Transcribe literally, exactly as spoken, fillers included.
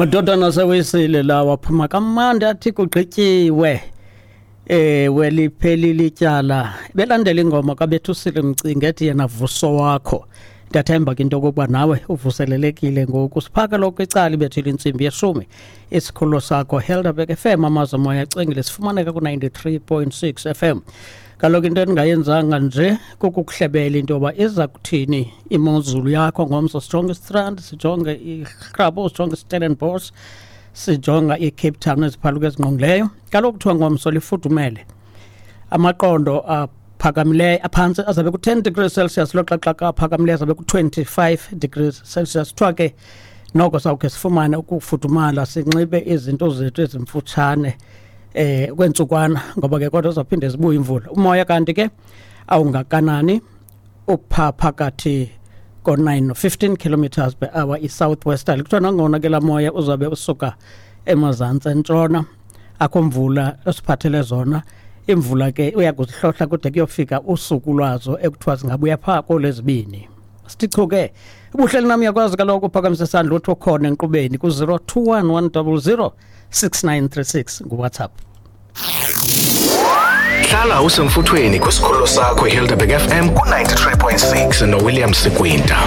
Madodana aseWesile lawa aphuma kamandi, athi kugqityiwe. Ewe, liphelile ityala. Belandela ingoma kaBethusile Mcinga ethi yena "Vuso Wakho". Ndiyathemba ke into okokuba nawe uvuselelekile ngoku. Siphaka lokho icala ibethile intsimbi yeshumi. Isikhululo sakho Helderberg F M, amazwe moya acengile, sifumaneka ku-ninety-three point six F M. Kaloku into endingayenzanga nje kukukuhlebela into yoba iza kuthini imozulu yakho ngomso. Sijonge iStrand, sijonge iGrabouw, sijonge iStellenbosch, sijonga iCape Town neziphaluka ezingqongileyo. Kaloku kuthiwa ngomso lifudumele, amaqondo aphakamileyo aphantsi azabe ku-ten degrees Celsius, loxa xa aphakamileyo azabe ku-twenty-five degrees Celsius. Kuthiwa ke noko sawukhe sifumane ukufudumala, sinxibe izinto zethu ezimfutshane eh kwentsukwana, ngoba ke kodwa zaphinde zibuye imvula. Umoya kanti ke awungakanani, upha phakathi ko-nine no-fifteen kilometers per hour, i-south westerly. Kuthiwa nangona ke laa moya uzabe usuka emazantsi entshona, akho mvula esiphathele zona. Imvula ke uya kuzihlohla kude kuyofika usuku lwazo ekuthiwa zingabuya phaa koolwezibini. Sithi chu ke, ubuhleli nam, uyakwazi kaloku uphakamisa isandla uthi ukhona enkqubeni ku-zero two one one double zero six nine three six nguWhatsApp. Hlala usemfuthweni kwisikhululo sakho iHelderberg F M ku-ninety-three point six noWilliam Sikwinta.